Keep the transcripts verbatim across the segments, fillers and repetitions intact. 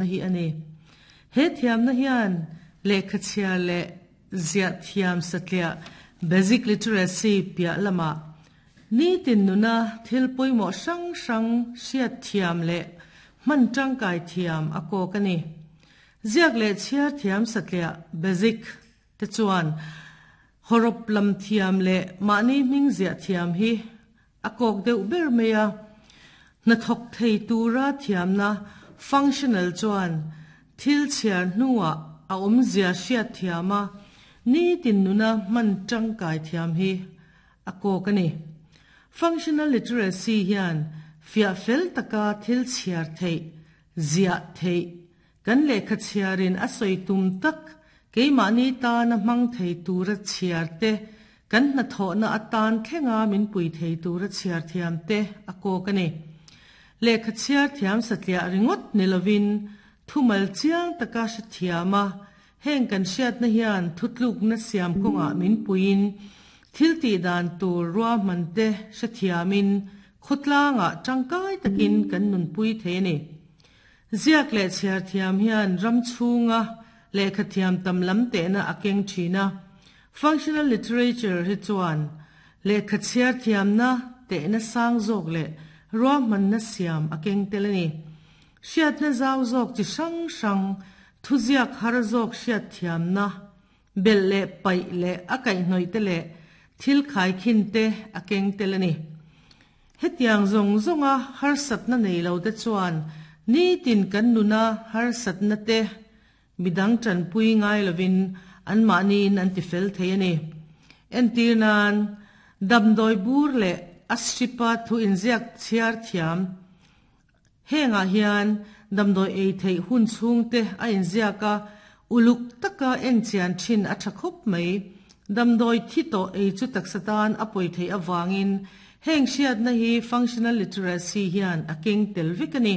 Hi ani. He thiamna hian lehkha chhiar leh ziah thiam satliah, basic literacy, piah lamah nitin nuna thil pawimawh hrang hrang hriat thiam leh hman tangkai thiam a kawk a ni. Ziak leh chhiar thiam satliah, basic, te chuan hawrawp lam thiam leh mahni hming ziah thiam hi a kawk deuh ber mai a. Hnathawk thei tura thiamna, functional, chuan thil chhiar hnuah a awmzia hriat thiam a, nitin nuna hman tangkai thiam hi a kawk a ni. Functional literacy hian fiah fel taka thil chhiar theih, ziah theih, kan lehkha chhiarin a sawi tum tak keimahni tana hmang thei tura chhiar te, kan hnathawhna atan thlenga min pui thei tura chhiar thiam te a kawk a ni. Lehkha chhiar thiam satliah ringawt ni lovin thumal chiang taka hre thiam a, heng kan hriatna hian thutlukna siam kawngah min puiin thil tih dan tur ruahman te hre thiamin khawtlangah tangkai takin kan nunpui thei a ni. Ziak leh chhiar thiam hian ram chhunga lehkha thiam tam lam tehna a keng thin a. Functional literature hi chuan lehkha chhiar thiamna tehna sang zawk leh ruahmanna siam a keng tel a ni. Hriatna zau zawk chi hrang hrang, thuziak har zawk hriat thiamna, belh leh paih leh a kaihhnawih te leh thil khaikhin te a keng tel a ni. Hetiang zawng zawnga harsatna nei lo te chuan nitin kan nuna harsatna te midang tanpui ngai lovin anmahniin an tifel thei a ni. Entir nan, damdawi bur leh a stripa thu inziak chhiar thiam. Hengah hian damdawi ei theih hun chhung te a inziak a, uluk taka en chian thin a tha khawp mai. Damdawi thi tawh ei chu taksa tan a pawi theih avangin heng hriatna hi functional literacy hian a keng tel vek a ni.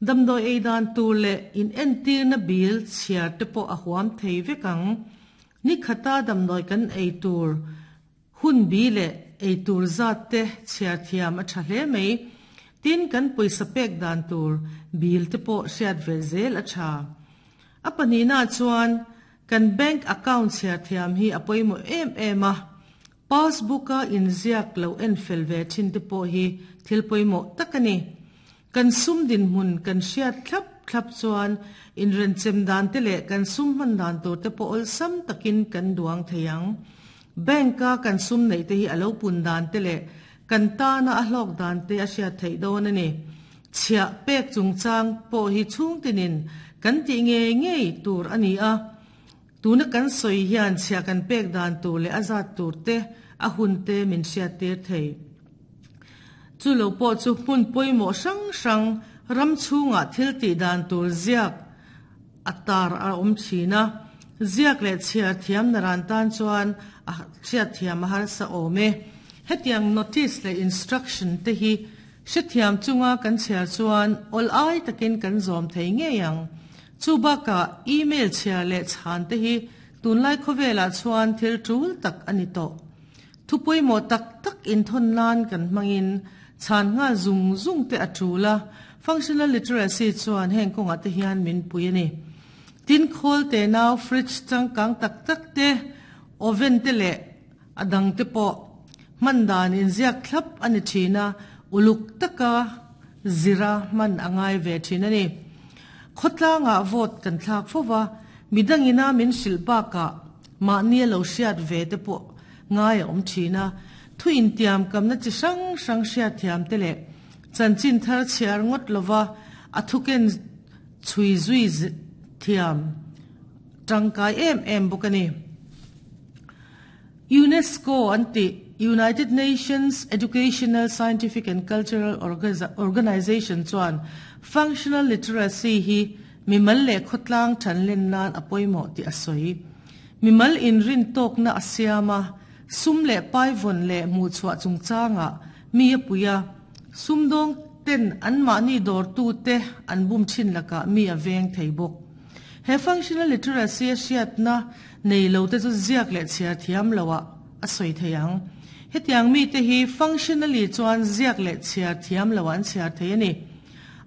Damdawi ei dan tur leh in entirna bil chhiar te pawh a huam thei vek ang. Ni khata damdawi kan ei tur hun bi leh ei tur zat te chhiar thiam a tha hle mai. Tin, kan pawisa pek dan tur bil te pawh hriat ve zel a tha. A pahnihna chuan kan bank account chhiar thiam hi a pawimawh em em a. Passbook a inziak lo en fel ve thin te pawh hi thil pawimawh tak a ni. Kan sum dinhmun kan hriat thlap thlap chuan inrenchem dan te leh kan sum hman dan tur te pawh awlsam takin kan duang thei ang. Bank a kan sum neih te hi a lo pun dan te leh kan tana a hlawk dan te a hriat theih dawn a ni. Chhiah pek chungchang pawh hi chhung tinin kan tih ngei ngei tur a ni a. Tuna kan sawi hian chhiah kan pek dan tur leh a zat tur te, a hun te min hriat tir thei. Chu lo pawh chu hmun pawimawh hrang hrang ram chhungah thil tih dan tur ziak a tar a awm thin a. Ziak leh chhiar thiam naran tan chuan a hriat thiam a harsa awm e. Hetiang notice leh instruction te hi hrethiam chunga kan chhiar chuan awl ai takin kan zawm thei ngei ang. Chu bakah email chhiar leh chhan te hi tunlai khawvelah chuan thil tul tak a ni tawh. Thu pawimawh tak tak inthawn nan kan hmangin chhan nghal zung zung te a tul a. Functional literacy chuan heng kawngah te hian min pui a ni. Tin, khawl te nau, fridge changkang tak tak te, oven te leh a dang te pawh hman dan inziak thlap a ni thin a, uluk taka zira hman a ngai ve thin a ni. Khawtlangah vote kan thlak fova, midangina min hrilh bakah mahni a lo hriat ve te pawh ngai a awm thin a. Thu intiam kamna chi hrang hrang hriat thiam te leh chanchin thar chhiar ngawt lova a thuken chhui zui thiam tangkai em em bawk a ni. UNESCO an tih, United Nations Educational, Scientific and Cultural Organization, chuan functional literacy hi mimal leh khawtlang thanlen nan a pawimawh tih a sawi. Mimal inrin tawkna a siam a, sum leh pai vawn leh hmuhchhuah chungchangah mi a pui a, sumdawng ten anmahni dawrtu te an bum thin lakah mi a veng thei bawk. He functional literacy a hriatna nei lo te chu ziak leh chhiar thiam loah a sawi thei ang. Hetiang mi te hi functionally chuan ziak leh chhiar thiam lo an chhiar thei a ni.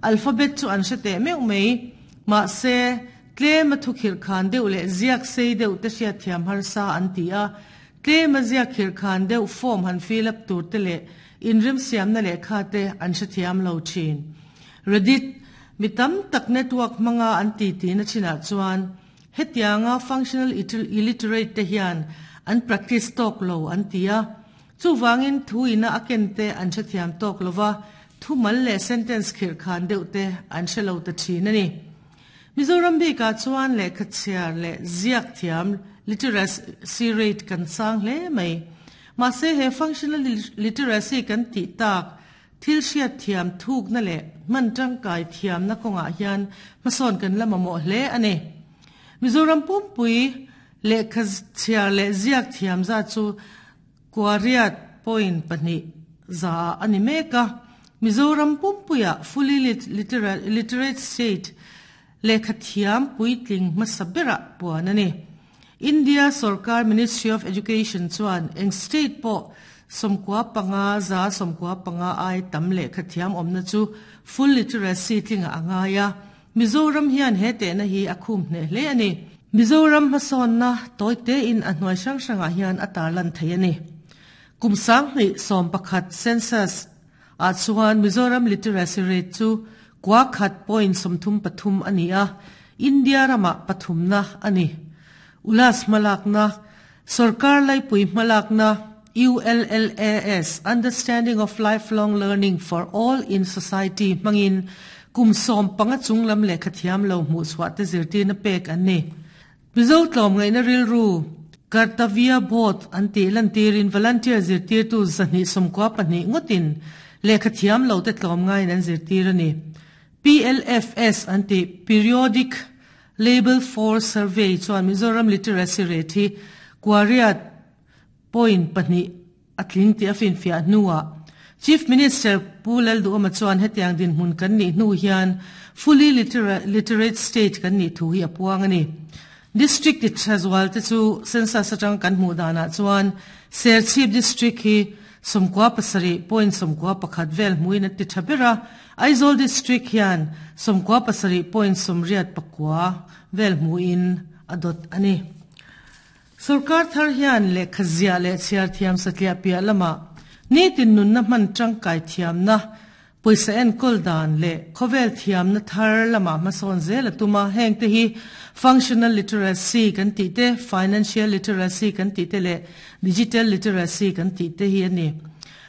Alphabet chu an hre teh meuh mai. Mahse tlema thu khirh khan deuh leh ziak sei deuh te hriat thiam harsa an ti a, tlema ziak khirh khan deuh form han fill up tur te leh inremsiamna lehkha te an hrethiam lo thin. Reddit, mi tam tak network hmanga an ti ti na thinah chuan hetianga functional illiterate te hian an practice tawk lo an ti a, chuwangin thu ina a ken te an hrethiam tawk lova, thu mal leh sentence khirh khan deuh te an hrelo ta thin a ni. Mizoram bikah chuan lehkha chhiar leh ziak thiam literacy rate kan sang hle mai. Mahse he functional literacy kan tih tak thil hriat thiam thukna leh hman tangkai thiamna kawngah hian hmasawn kan la mamawh hle a ni. Mizoram pumpui lehkha chhiar leh ziak thiam za chu kuariat point pahnih za a ni mek a. Mizoram pumpuia fully literate state lehkha thiam puitling hmasa berah puan a ni. India Sarkar Ministry of Education chuan eng state pawh sawmkua panga za sawmkua panga ai tam lehkha thiam awmna chu full literacy tlinga a ngai a. Mizoram hian he tehna hi a khum hneh hle a ni. Mizoram hmasawnna tawite in a hnuai hrang hrangah hian a tarlan thei a ni. Kum sanghnih sawm pakhat census ah chuan Mizoram literacy rate chu kwa khat point sawmthum pathum a ni a, India ramah pathumna a ni. Ulas hmalakna, Sarkar laipui hmalakna U L L A S, Understanding of Lifelong Learning for All in Society hmangin kum sawm panga chunglam lehkha thiam lo hmuh chhuah te zirtirna pek an ni. Mizo tlawmngaihna rilru Kartavya Bodh an tih lantirin volunteer zirtirtu zahnih sawmkua pahnih ngawtin lehkha thiam lo te tlawmngaiin an zirtir a ni. P L F S an tih Periodic Labour Force Survey chuan Mizoram literacy rate hi kuariat point pahnih a tling tih a finfiah hnuah Chief Minister Pu Lalduhoma chuan hetiang dinhmun kan nih hnu hian fully literate state kan nih thu hi a puang a ni. District ti thazual te chu census atang kan hmuh danah chuan Serchhip district hi sawmkua pasarih point sawmkua pakhat vel hmuin a ti tha ber a, Aizawl district hian sawmkua pasarih point sawmriat pakua vel hmuin a dawt a ni. Sarkar thar hian lehkha ziah leh chhiar thiam satliah piah lamah nitin nunna hman tangkai thiamna, pawisa enkawl dan leh khawvel thiamna thar lamah hmasawn zel a tum a. Heng te hi functional literacy kan tih te, financial literacy kan tih te leh digital literacy kan tih te hi a ni.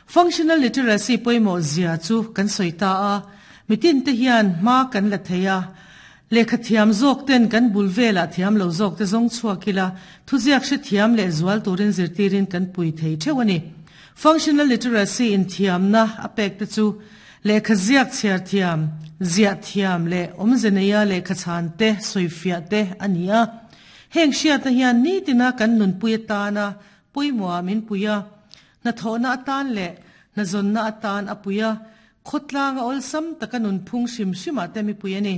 Functional literacy pawimawh zia chu kan sawi ta a, mitin te hian hma kan la thei a, lehkha thiam zawk ten kan bul velah thiam lo zawk te zawng chhuak ila, thuziak hre thiam leh zual turin zirtirin kan pui thei theuh a ni. Functional literacy in thiamna a pek te chu lehkha ziak chhiar thiam, ziah thiam leh awmze neia lehkha chhan te, sawifiah te a ni a. Heng hriatna hian nitina kan nunpui atana pawimawh min pui a, hnathawhna atan leh hnazawnna atan a pui a, khawtlanga awlsam taka nunphung hrim hrimah te mi pui a ni.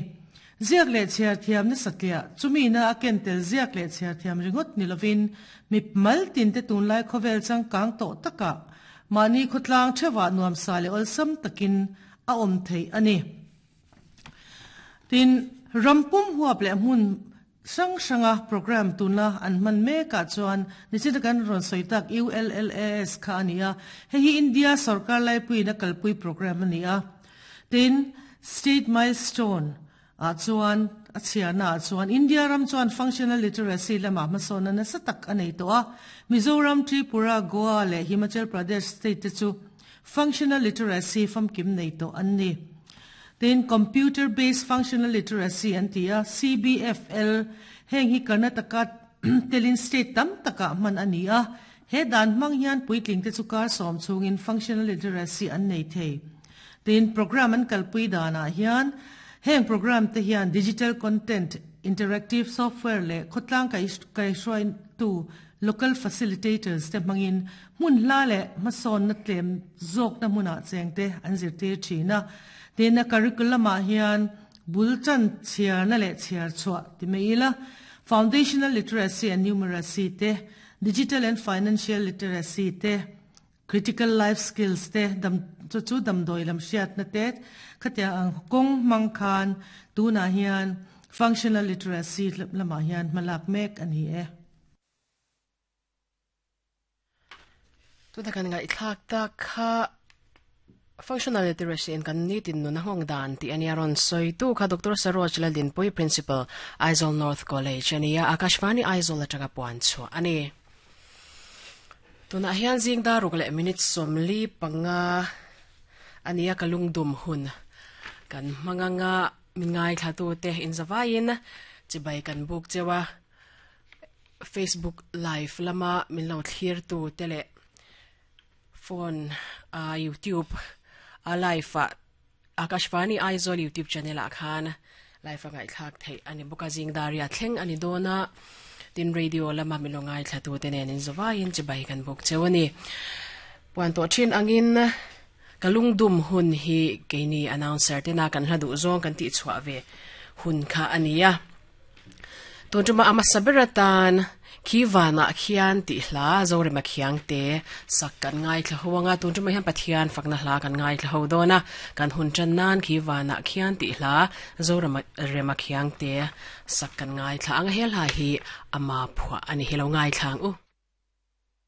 Ziak leh chhiar thiamna satliah chumina a ken tel ziak leh chhiar thiam ringawt ni lovin mi mal tin te tunlai khawvel changkang tawh takah mahni khawtlang theuhah nuamsa leh awlsam takin a awm thei a ni. Tin, rampum huap leh hmun hrang hranga program tuna an hman mekah chuan nichina kan rawn sawi tak U L L A S kha a ni a. Hei hi India sarkar laipuiin a kalpui program a ni a. Tin, state milestone ah chuan a chhiarna ah chuan India ram chuan functional literacy lamah hmasawnna nasa tak a nei tawh a. Mizoram, Tripura, Goa leh Himachal Pradesh state te chu functional literacy famkim nei tawh an ni. Tin, computer based functional literacy an ti a, C B F L, heng hi Karnataka telin state tam takah hman a ni a. He dan hmang hian puitling te chu kar sawm chhungin functional literacy an nei thei. Tin, program an kalpui danah hian heng program te hian digital content, interactive software leh khawtlang kai kai hruai tu local facilitators te hmangin hmun hla leh hmasawnna tlem zawkna hmunah cheng te an zirtir thin a. Tin, a curriculum ah hian bul chan chhiarna leh chhiar chhuah ti mai ila, foundational literacy and numeracy te, digital and financial literacy te, critical life skills te, dam chu chu damdawi lam hriatna te, khatia ang kawng hmang khan tunah hian Functional literacy lamah hian hmalak mek a ni e. Tuna kan ngaihthlak tak kha functional literacy in kan nitin nun a nghawng dan tih a nia rawn sawi tu kha Doctor Saroj Laldinpui Principal Aizawl North College a nia Akashvani Aizawl atanga puan chhuah a ni. Tunah hian zing dar ruk leh minute sawmli panga a nia ka lungdum hun kan hmang anga min ngaithla tu te inzavaiin chibai kan buk cheu a Facebook live lama min lo thlir tu te leh phone a YouTube a live a Akashvani Aizawl YouTube channel ah khan live a ngaihthlak theih a ni bawk a zing daria thleng a ni dawn a tin radio lama min lo ngaithla tu te nen inzavaiin chibai kan buk cheu a ni. Puan tawh thin angin ka lungdum hun hi keini announcer tena kan hla duh zawng kan tih chhuah ve hun kha a ni a. Tun tuma ama saber atan khi vanah khian tih hla Zorema khiang te sak kan ngaithla ho anga tun tuma hian Pathian fakna hla kan ngaithla ho dawn a kan hun tan nan khi vanah khian tih hla Zorema rema khiang te sak kan ngaithla anga hel ha hi ama phua ani helo ngaithla ang u.